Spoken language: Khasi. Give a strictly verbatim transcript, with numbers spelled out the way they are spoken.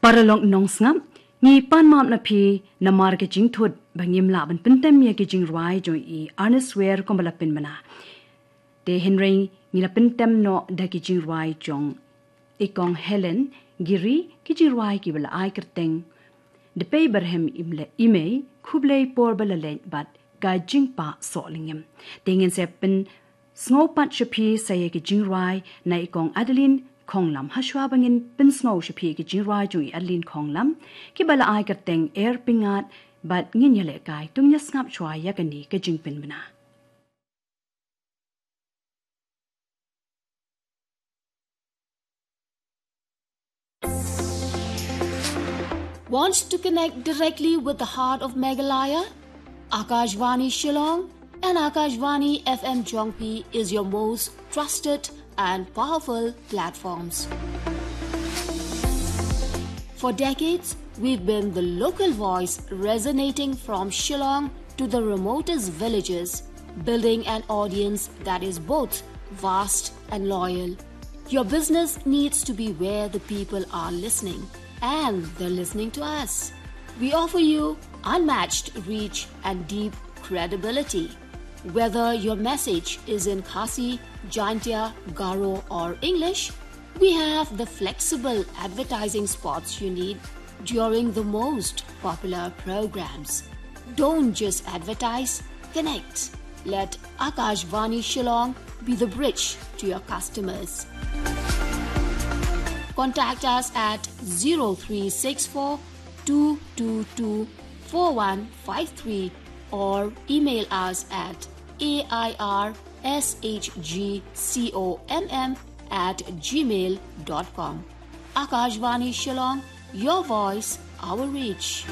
Paralok nongsngap, ngi pan map na phi namar ka jingthut ba ngim lah ban pyntem ïa ki jingrwai jong i Ernest Ware kumba la pynbna. Te hynrei ngi la pyntem noh da ki jingrwai jong i Kong Helen Giri, ki jingrwai kiba la ai kyrteng Da pei barhem im le imei, khublei por ba la leit bad ka jingpah soh lyngngoh. Te ngin sa pynsngew pat sha phi sa ïa ki jingrwai na i Kong Adeline Khonglam. Hashwa ba ngin pynsngew sha phi ki jingrwai jong i Adeline Khonglam, kiba la ai kyrteng Er Pyngat, bad ngin ïalehkai, to ngin ïa sngap shwa ïa kane ka jingpynbna. Want to connect directly with the heart of Meghalaya? Akashvani Shillong and Akashvani F M Jongphi is your most trusted and powerful platforms. For decades, we've been the local voice resonating from Shillong to the remotest villages, building an audience that is both vast and loyal. Your business needs to be where the people are listening, and they're listening to us. We offer you unmatched reach and deep credibility. Whether your message is in Khasi, Jaintia, Garo, or English, we have the flexible advertising spots you need during the most popular programs. Don't just advertise, connect. Let Akashvani Shillong be the bridge to your customers. Contact us at zero three six four two two two four one five three or email us at A I R S H G C O M M at gmail dot com. Akashvani Shillong, your voice, our reach.